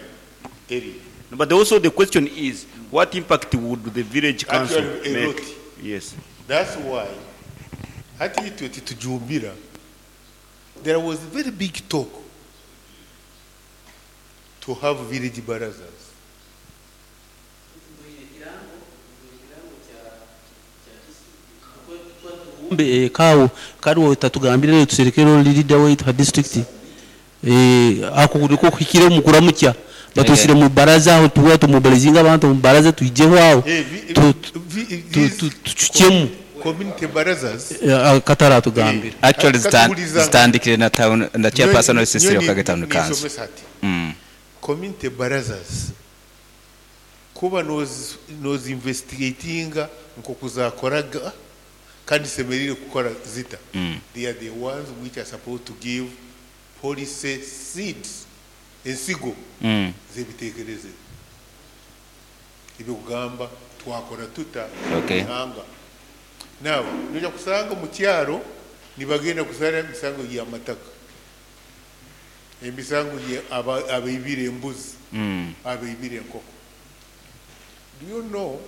C: area.
A: But also the question is, what impact would the village council
C: Actually, a
A: make?
C: lot.
A: Yes.
C: That's why hati itwe titujumbira there was a very big talk to have village barazas.
D: Mbe kawo kariwo tatugambire tuserekero leader waitu ha district ako niko kuhikire omu kuramukya batusire mu baraza aho tuba tumobilizinga abantu omu baraza twijeho aho
C: These
D: tucukyemu
C: community barazas
D: kataratugambira
B: Actually
C: Katubuliza-
B: zitandikire na town na chairperson wa sisi Okage Town Council.
C: Nisomesa ati community barazas kuba nozi investigatinga nkokuzakoraga kandi semerire kukora zita. They are the ones which are supposed to give policy seeds ensigo z'ebitekerezo ebikugamba twakora tuta ihanga. Now noja kusanga mu kyaro nibagenda kusara emisango y'amataka, emisango abaibire embuzi, abaibire enkoko. Do you know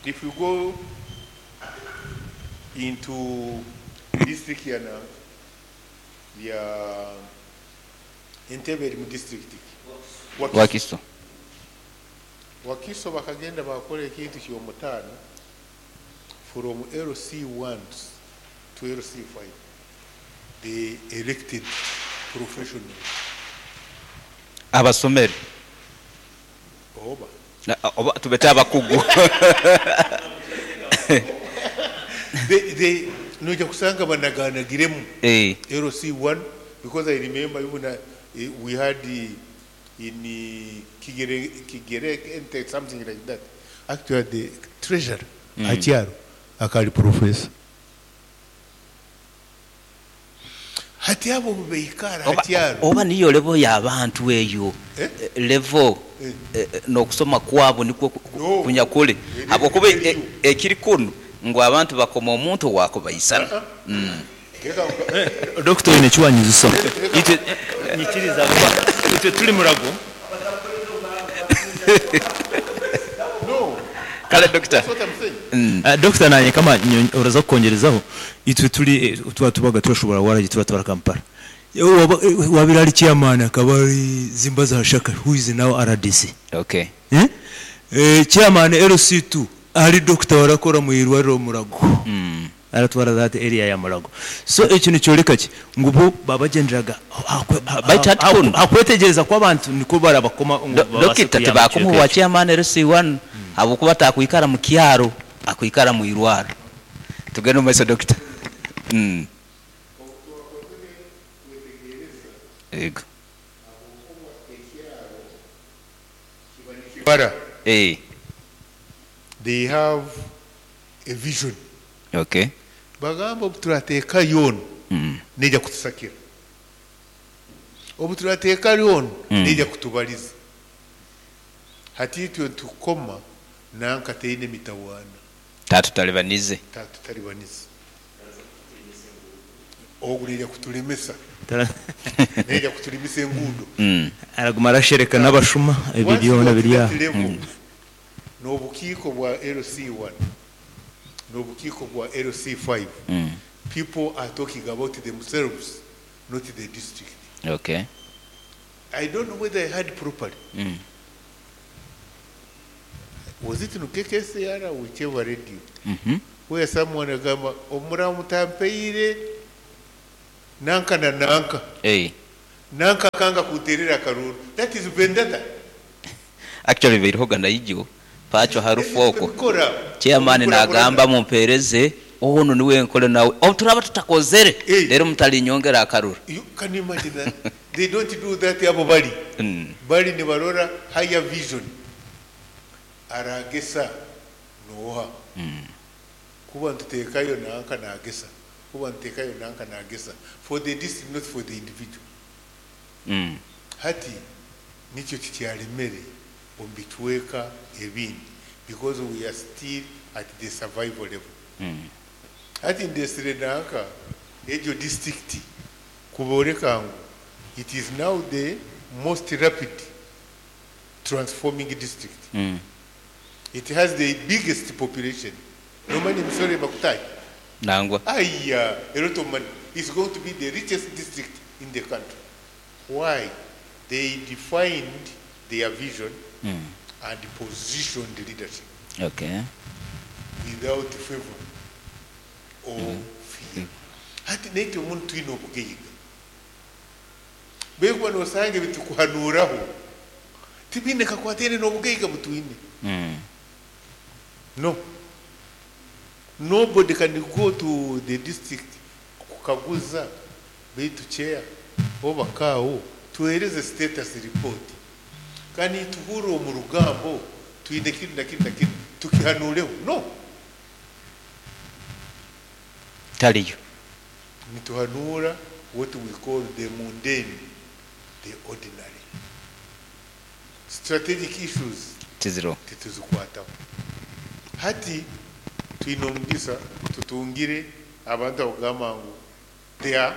C: if you go into district ya na ya Entebbe eri mu district Wakiso.
B: Wakiso.
C: Wakiso bakagenda bakora ekintu ky'omutaano from LC1 to LC5. They elected professionals.
B: Abasomere.
C: Oba.
B: Na, oba tubete abakugu.
C: They noja kusanga banaganagiremu. LC1, because I remember even we had the, in the Kigere, Kigere, something like that. Actually, the treasurer, Achiaro, akali professor. Hati abo beikara Achiaro.
B: Oba niyo level y'abantu eyo. Level, n'okusoma kwabo nikwo
C: No.
B: kunyakule. Habwokuba ekiri kunu ngu abantu bakoma omuntu wakubaisana.
E: Doctor ine kiwanyiziso.
F: Itwe nyikiriza kuba itwe tuli murago.
C: No.
B: Kale doctor.
C: That's what I'm saying.
E: Doctor nanye kama uraza kukongerezaho itwe tuli tuba tubaga turashobora waragi tuba twara Kampala. Wabira ari chairman akaba ari Zimbaza Hashaka who is now RDC.
B: Okay.
E: Chairman LC2 ari doctor warakora mu irwariro Murago. Aratwara that area ya Murago. So ekintu cyoreka ki ngu bo babagenderaga
B: Baitu hati kuno.
E: hakwetegereza kw'abantu niko barabakoma ngu babase
B: Dokita
E: kuyamba
B: tibakumuwa
E: ekicweka ekyo.
B: chairman LC1 habwokuba takwikara mu kyaro akwikara mu irwaro. Tugende omu maiso doctor. Ego.
C: Bara. They have a vision.
B: Okay.
C: Bagamba obuturateeka yoona neija kutusakira. Obuturateeka yoona neija kutubariza. Hati itwe tukoma nanka teine mitawaana.
B: Tatutalibanize.
C: Tatutalibanize. Ogu neija kutulemesa. Neija kutulemesa enguudo.
E: Araguma arashereka n'abashuma ebyo
C: Once
E: byona
C: you
E: biri
C: get
E: aho.
C: that level, n'obukiiko bwa LC1 n'obukiiko bwa LC5, people are talking about themselves, not the district.
B: Okay.
C: I don't know whether I heard properly. Was it in KKCR or whichever radio where someone agamba omura mutampaire nanka na nanka
B: Eh.
C: nanka akanga kunterera akaruru. That is vendetta.
B: Actually birihoga naijo pacho harufu okwo.
C: Tubikora.
B: Chairman
C: Tubikora
B: nagamba mumpereze ono niwe nkole nawe obu turaba tutakozere
C: Eh.
B: rero mutalinyongera akaruru.
C: You can imagine that. They don't do that abo bali. Bali nibarora higher vision. Aragesa noha. Kuba ntutekayo nanka nagesa. Kuba ntutekayo nanka nagesa. For the district, not for the individual. Hati nikyo kikyalemere omu bicweka ebindi because we are still at the survival level. Hati ndesire nanka egyo district kuboreka ngu it is now the most rapid transforming district. It has the biggest population. No money emisoro ebakutahi.
B: Nangwa.
C: Aya, a lot of money. It's going to be the richest district in the country. Why? They defined their vision and positioned leadership.
B: Okay.
C: Without favor or fear. Hati naitwe omuntu twine obugaiga. Bekuba nosanga ebitukuhanuraho tibiine kakwataine n'obugaiga butwine. No. Nobody can go to the district kukaguza beitu chair oba kaawo tuhereze status report. Kandi tuhure omu rugambo twine kinu na kinu na kinu tukihanureho. No.
B: Taliyo.
C: Nituhanura what we call the mundane, the ordinary. Strategic issues
B: Tiziro.
C: tituzikwataho. Hati twine omugisa tutungire abantu abagamba ngu they are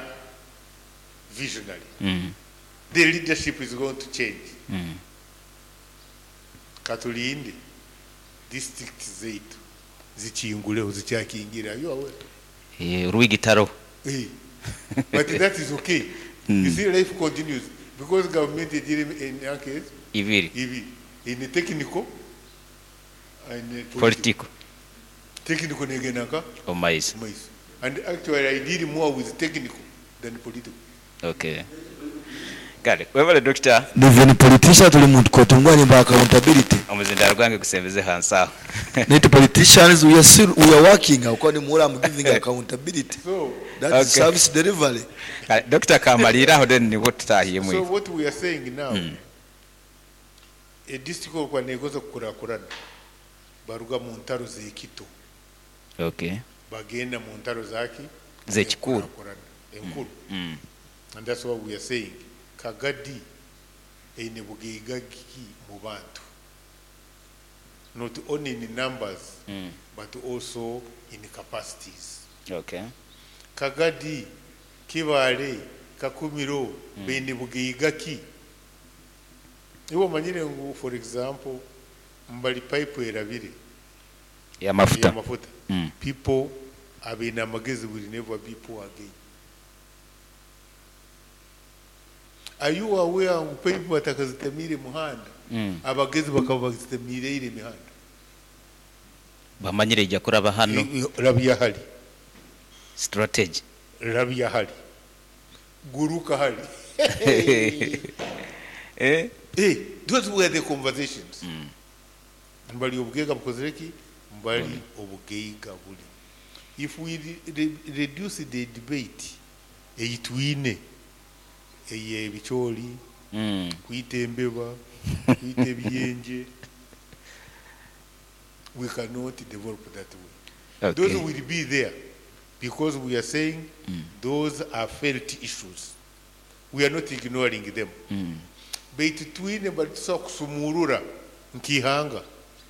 C: visionary. The leadership is going to change. Katulinde district zeitu zikinguleho zikyakingira. You are aware?
B: Rwigitaro.
C: But that is okay. You see, life continues because government is dealing in case
B: Ibiri.
C: Ibi in technical and
B: political. Political.
C: Technical negenaka
B: Omaiso.
C: Omaiso. And actually I deal more with technical than political.
B: Okay. Kale, webale doctor.
G: Even politician tuli muntu kotungwa ni accountability.
B: Omuzindaro gwange kusembeze hansi aho.
G: Net politicians we are still, we are working aho ni mura I'm giving accountability.
C: So
G: that is
B: Okay.
G: service delivery.
B: Kale, Doctor kamalira aho then nibwo tutahiye
C: So
B: mwe.
C: what we are saying now, a district kwa negoza kukurakurana baruga mu ntaro z'ekito.
B: Okay.
C: Bagenda mu ntaro zaki
B: Z'ekikuru.
C: Enkurakurana. Enkuru. And that's what we are saying. Kagadi eine bugaiga ki mu bantu. Not only in numbers, but also in capacities.
B: Okay.
C: Kagadi, Kibale, Kakumiro, beine bugaiga ki. Iwo manyire ngu, for example, mbali pipe erabire.
B: Ya mafuta.
C: Ya mafuta. People abina amagezi will never be poor again. Are you aware ngu pipe batakazitemire muhanda? Abagezi bakaba bazitemire ile mihanda.
B: Bamanyire ijya kuraba hano.
C: Rabia hali.
B: Strategy.
C: Rabia hali. Guruka hali. Those were the conversations. Mbali obugaiga bukozereki, mbali obugaiga buli. If we reduce the debate, eyitwine, eye ebicholi, kuyita embeba, kuyita ebiyenje, we cannot develop that way.
B: Okay.
C: Those will be there because we are saying those are felt issues. We are not ignoring them. Baitu twine batusobola kusumurura nkihanga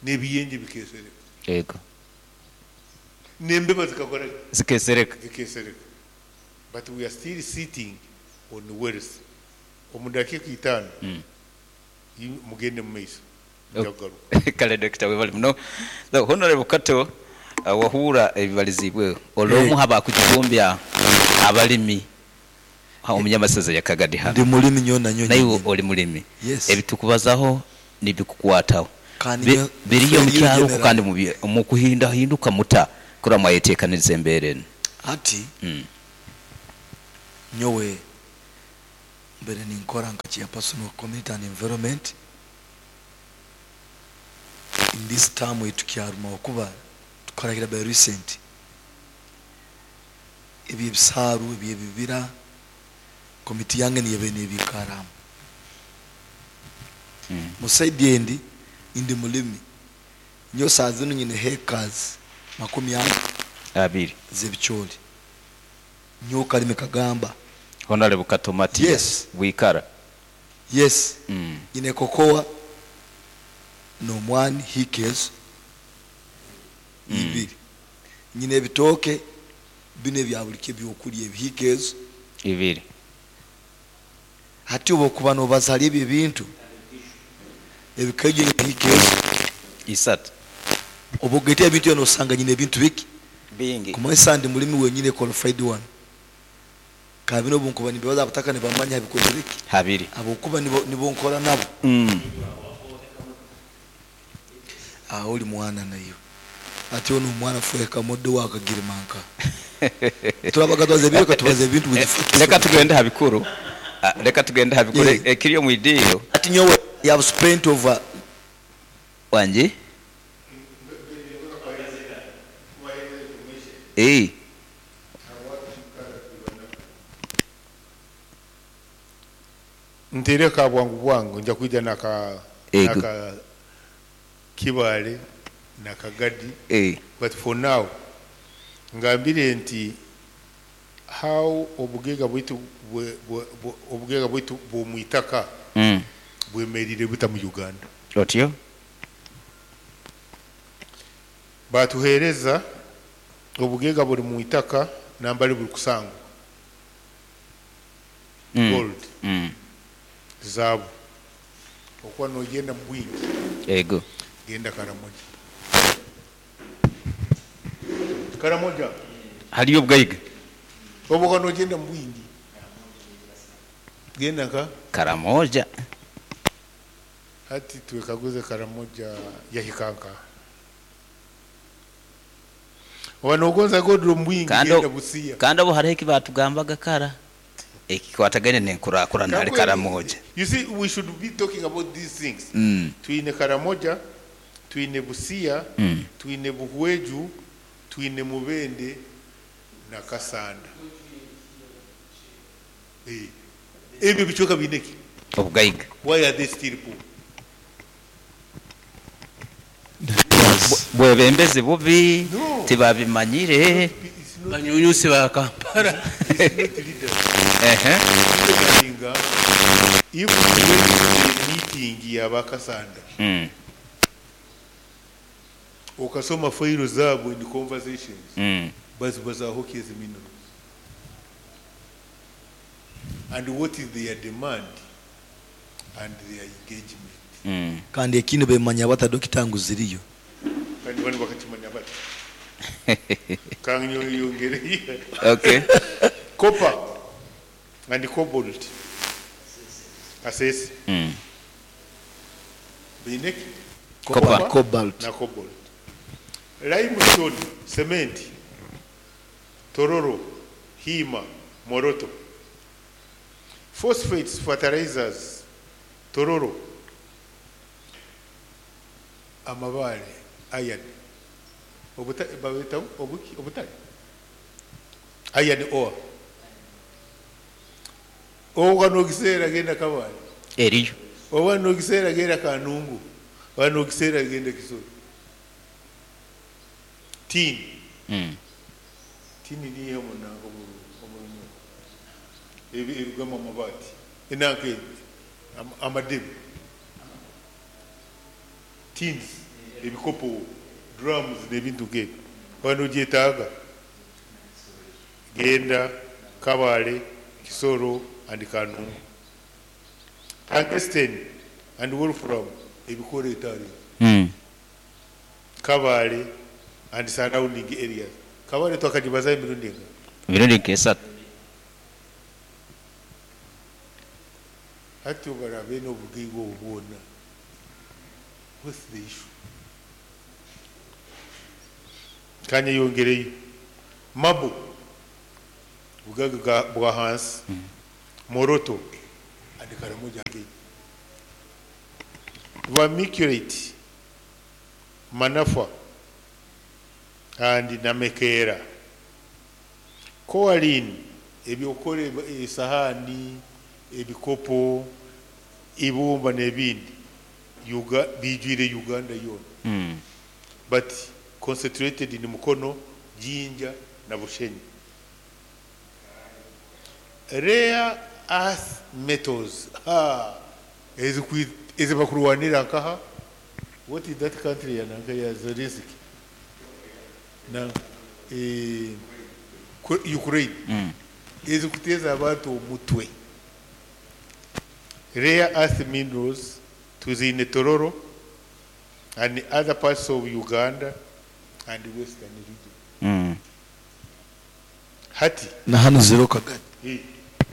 C: n'ebiyenje bikesereka.
B: Yego.
C: N'embeba zikakora
B: Zikesereka.
C: Zikesereka. But we are still sitting on wealth. Omu dakika itaano, mugende mu maiso. Njagaruka.
B: Kale Doctor webale muno. So, Honorable Kato, wahura ebibalizibwe olwomu haba kukigombya abalimi ha omunyamasaza ya Kagadi hano.
G: Ndi mulimi nyo na nyo.
B: Naye oli mulimi.
G: Yes.
B: Ebitukubazaho nibikukwataho.
G: Kandi
B: Bi-
G: nyowe
B: Biriyo omu
G: friend
B: kyaro okwo
G: general.
B: kandi mu mukuhindahinduka muta kurora mwayeteekaniriza embeera enu?
G: Hati nyowe mbaire ninkora nka chairperson wa community and environment in this term eitukyaruma okuba tukarahira by recent eby'ebisaaru eby'ebibira committee yange niyo ebaire nebiikaramu. Mu side endi indi mulimi nyowe saaha zinu nyine hectares 40
B: Abiri.
G: z'ebicoori. Nyowe Kalimi Kagamba.
B: Honorable Kato Matia.
G: Yes.
B: Bwikara.
G: Yes. Nyine cocoa n'omwani hiika ezo ibiri. Nyine ebitooke binu ebya buri kiro ebyokurya ebi hiika ezo.
B: Ibiri.
G: Hati obu okuba nobaza hali ebyo ebintu ebikaija nyine hiika ezo.
B: Isatu.
G: Obu ogaita ebintu ebyo nosanga nyine ebintu biki?
B: Bingi.
G: Kumanyisa ndi mulimi wenyine qualified one. Kabine obu nkuba nimbibaza abataka nibamanya bikozire ki?
B: Habiri.
G: Habwokuba nibo nibo nkora nabo. Aho oli mwana naiwe. Ati onu omwana fweka moddo wa kagirima nka. Turabaga twaza ebiro katubaza ebintu with facts.
B: Leka tugende ha bikuru. Leka tugende ha bikuru
G: Yeah.
B: ekiri omu idiiro.
G: Ati nyowe I have spent over.
B: Wangi? Eh.
C: Nteire ka bwangu bwangu nja kwija naka
B: Ego.
C: naka Kibaale na Kagadi.
B: Eh.
C: But for now ngambire nti how obugaiga bwaitu obugaiga bwaitu bw'omwitaka bwemerire buta mu Uganda.
B: Otyo?
C: Batuhereza obugaiga buri mu itaka nambari buri kusangwa. Gold. Zaabu. Okuba nogenda mu bwingi.
B: Ego.
C: Genda Karamoja. Karamoja.
B: Haliyo obugaiga.
C: Obuka nogenda mu bwingi. Genda nka
B: Karamoja.
C: Hati twekaguze Karamoja yahikanka. Oba nogonza gold mu bwingi genda Busia.
B: Kandi abo hariho eki batugambaga kara ekikwatagaine n'enkurakurana hali Karamoja.
C: You see, we should be talking about these things. Twine Karamoja, twine Busia, twine Buhweju, twine Mubende na Kasanda. Ebyo bicweka biine ki?
B: Obugaiga.
C: Why are they still poor?
B: Bwebembezi bubi,
C: No.
B: tibabimanyire.
D: Banyunyusi ba Kampala.
B: Ehe.
C: If we went to the meeting ya Bakasanda, okasoma failo zaabo in conversations, bazibazaho ki ezi minerals? And what is their demand and their engagement?
G: Kandi ekindi bemanya bata dokita ngu ziriyo.
C: Kandi banu bakakimanya bata. Kanyongere.
B: Okay.
C: Copper and cobalt. Kasese. Biineki?
B: Copper.
G: Cobalt.
C: Na cobalt. Limestone, cement, Tororo, Hima, Moroto. Phosphates, fertilizers, Tororo. Amabale, iron. Babeta obuki, obutale. Iron ore. Oba nokiseera genda Kabale.
B: Eriyo.
C: Oba nokiseera genda Kanungu. Oba nokiseera genda Kisoro. Tin. Tin niyo munango omurunyo. Ebigama amabati. Enanke amadebe. Tins, ebikopo, drums n'ebintu nk'ebyo. Oba nogyetaaga. Genda Kabale, Kisoro and Kanungu. Tungsten and wolfram ebikora etaari. Kabale and surrounding areas. Kabale twakagibaza emirundi enga?
B: Emirundi nk'esatu.
C: Hati obarabe n'obugaiga obwo bwona. What's the issue? Kanyeyongereyo. Marble, bugaga bwa hansi, Moroto and Karamoja again. Vermiculite, Manafa and Namekera. Kaolin, ebyokora esahani, ebikopo, ibumba n'ebindi, bijwire Uganda yoona. But concentrated in Mukono, Jinja na Bushenyi. Rare earth metals, ha, ezibakurwanira nkaha. What is that country ya nanka ya Zelensky? Na Ukraine. Ezikuteza abantu omutwe. Rare earth minerals tuzine Tororo and other parts of Uganda and Western region. Hati
G: na hano zero kagari.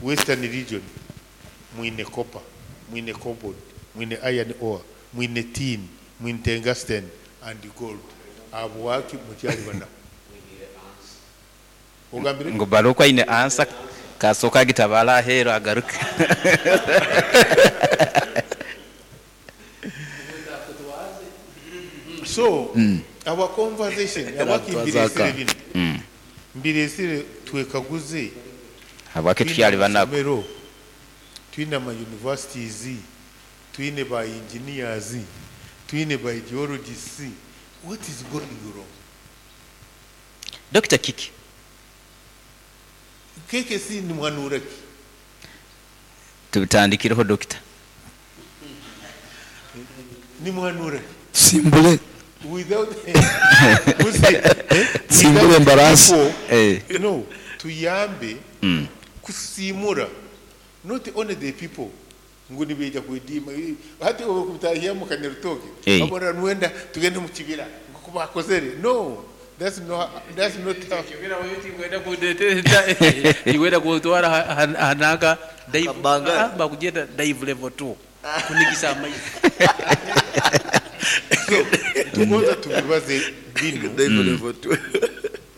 C: Western region mwine copper, mwine cobalt, mwine iron ore, mwine tin, mwine tungsten and gold. Abwaki mukyali bana. Ogambire?
B: Ngo barokwa ine ansa kasoka gitabala ahero agaruke.
C: So, our conversation, abaki mbiresire bino. Mbiresire twekaguze.
B: Abaki tukyali banako.
C: Twine twine ama universities, twine ba engineers, twine ba geologists. What is going wrong?
B: Dr. Kiki.
C: Keke si ni mwanura ki?
B: Tubitandikireho Dr.
C: Ni mwanura ki?
G: Simbule.
C: Without
G: Simbule mbarasi.
C: No, tuyambe kusimura. Not only the people ngo nibeja kwedima hati okutahia mu kanyarutoke abona nwenda tugende mu kibira ngo kubakozere. No, that's not how
D: kibira wewe tigwenda kudeteta igwenda kutwara hanaka dive bakugenda dive level 2 kunigisa amaizi.
C: Tugonza tubibaze bino
G: dive level 2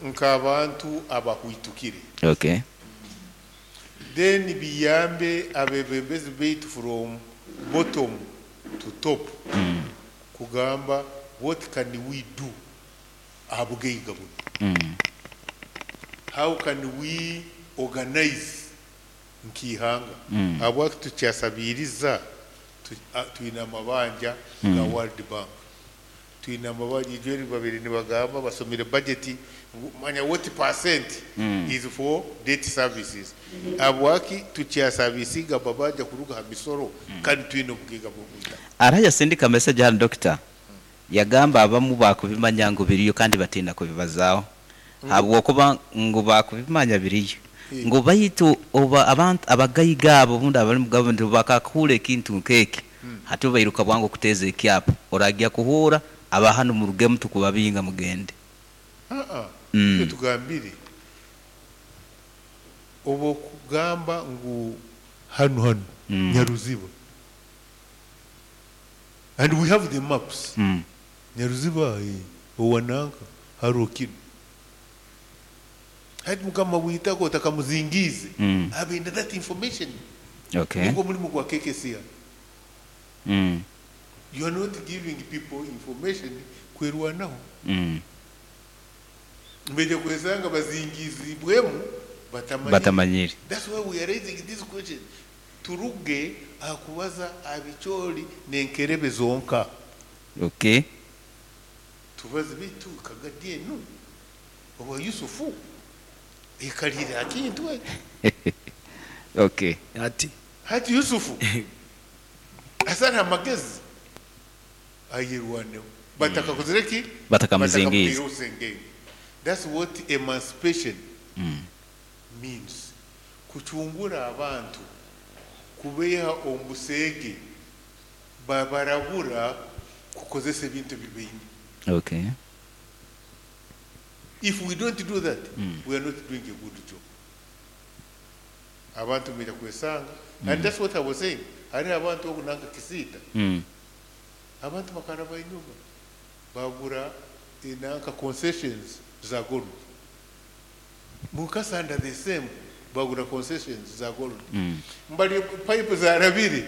C: nkabantu abahwitukire.
B: Okay.
C: Then biyambe abebembezi baitu from bottom to top. Kugamba what can we do ahabugaiga buno. How can we organize nkihanga? Habwaki tukyasabiriza twine amabanja ga World Bank. Twine amabanja ijeri babiri nibagamba basomire budget manya what percent is for debt services. Abwaki tukyasabisiga babanja kuruga ha misoro kandi twine obugiga bw'obutaka.
B: Araya sindika message hano doctor. Yagamba abamu bakubimanya ngo biriyo kandi batinda kubibazaaho. Habwokuba ngo bakubimanya biriyo. Ngo baitu oba abantu abagayiga abo bundi abali mu government bakakura ekintu nkeki. Hati bairuka bwangu kuteza ekyapa. Oragia kuhura abahano mu rugemu tukubabinga mugende.
C: Tugambire obo kugamba ngu hano hano Nyaruziba, and we have the maps. Nyaruziba owananka harokino hati mukama witako takamuzingize abenda that information.
B: Okay.
C: Ngo mulimu gwa KKCA. You are not giving people information kwerwanaho. Mbeje kwesanga bazingizibwemu batamanyiri. That's why we are raising this question. Turuge akubaza abicholi nenkerebe zonka.
B: Okay.
C: Tubaze bitu kagadie nu. Oba Yusufu ekalira akintu.
B: Okay.
C: Hati Yusufu asana amagezi ayirwaneho batakakozereki
B: batakamuzingiza.
C: That's what emancipation means. Kuchungura abantu kubeha ombusege babarabura kukozesa ebintu bibaine.
B: Okay.
C: If we don't do that, we are not doing a good job. Abantu mbere kwesanga. And that's what I was saying. Hari abantu okunanga kisita. Abantu bakaraba enyuma bagura enanka concessions za gold. Mukasanda the same, bagura concessions za gold. Mbali pipe zarabire.